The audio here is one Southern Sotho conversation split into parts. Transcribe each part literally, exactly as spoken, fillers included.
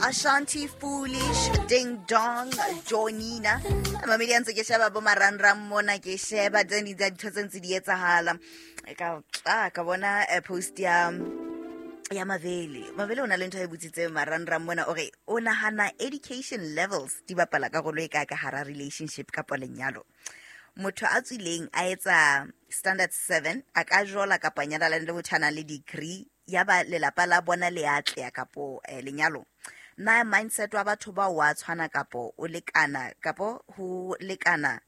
Ashanti, Foolish, Ding Dong, Johnina. Mamedi a ntse ke sheba bo marangrang mona, ke sheba tse ding tsa dintho tse ntse di etsahala. Ka ah, ka bona eh, post ya ya Mavele. Mavele o na le ntho e botsitseng marangrang mona, o re o nahana education levels di bapala karolo e kae ka hara relationship kapa lenyalo. Motho a tswileng a etsa standard seven a ka jola kapa nyalana le motho a nang le degree, ya ba lelapa la bona le atleha kapo eh, lenyalo. Na mindset wa batho ba wa tshwana kapo o lekana kapo ho lekana,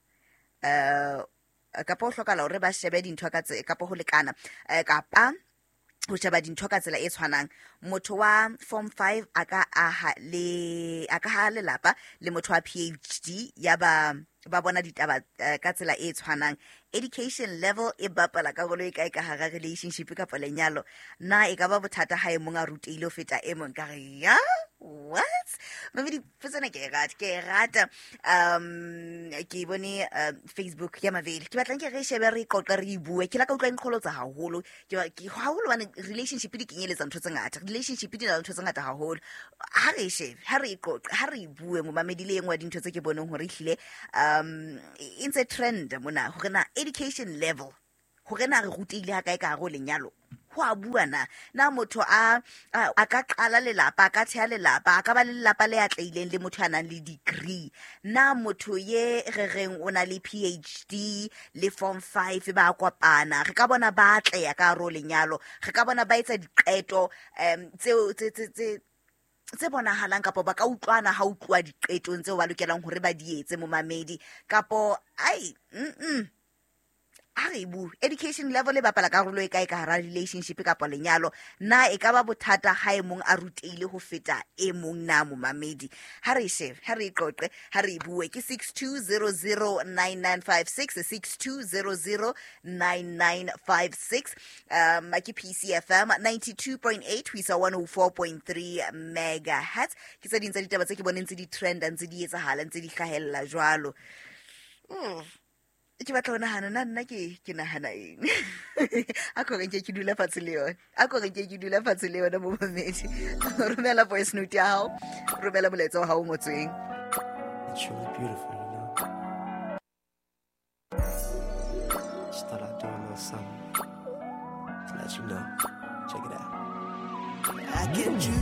eh kapo ho hlokahala hore ba shebe dintho ka tse kapo ho lekana, eh, kapa ho sheba dintho ka tsela e tshwanang. Motho wa form five a ka aha le a ka ha lelapa le motho wa P H D, ya ba ba bona ditaba eh, ka tsela e tshwanang. Education level e bapala karolo e kae ka hara relationship kapa lenyalo? Na e ka ba bothata ha e mong a rutehile ho feta e mong? Ka re ya what, maybe dipotso ke e rata, ke e rata. um ke bone uh, Facebook ya Mavele, ke batlang ke re shebe, re qoqe, re e bue. Ke la ka utlwa e nqholotsa haholo. Ke ba- ke- haholo bane relationship di kenyeletsa ntho tse ngata, relationship di na le ntho tse ngata haholo. Ha re e shebe, ha re e qoqe, ha re e bue, momamedi. Le e nngwe ya dintho tse ke boneng hore ehlile um e ntse trend mona, hore na education level, hore na re rutehile ha kae ka hare ho lenyalo, ho a bua na. Na motho a a a ka qala lelapa, a ka theha lelapa, a ka ba le lelapa le atlehileng le motho a nang le degree? Na motho ye re reng o na le P H D le form five ba kopana, re ka bona ba atleha ka hare ho lenyalo? Re ka bona ba etsa diqeto um tseo tse tse tse tse bonahalang, kapo ba ka utlwana ha utluwa diqetong tseo ba lokelang hore ba di etse, momamedi? Kapo ai, mm ha re e bue, education level e bapala karolo e kae ka hara relationship kapa lenyalo? Na e ka ba bothata ha e mong a rutehile ho feta e mong na, momamedi? Ha re e shebe, ha re e qoqe, ha re e bue. Ke six two zero zero nine nine five six, six two zero zero nine nine five six. um ke P C F M ninety-two point eight ho isa one oh four point three megahertz. Ke tse ding tsa ditaba tse ke boneng tse di trenda, ntse di etsahala, ntse di hlahella jwalo. Mm. Ke batla ho nahana na nna ke ke nahana eng. A ko re nke ke dula fatshe le yona, a ko re nke ke dula fatshe le yona, momamedi. Romela voice note ya hao, romela molaetsa wa hao o ngotsweng. It's truly beautiful, you know. Just thought I'd do a little something to let you know. Check it out. I can choose.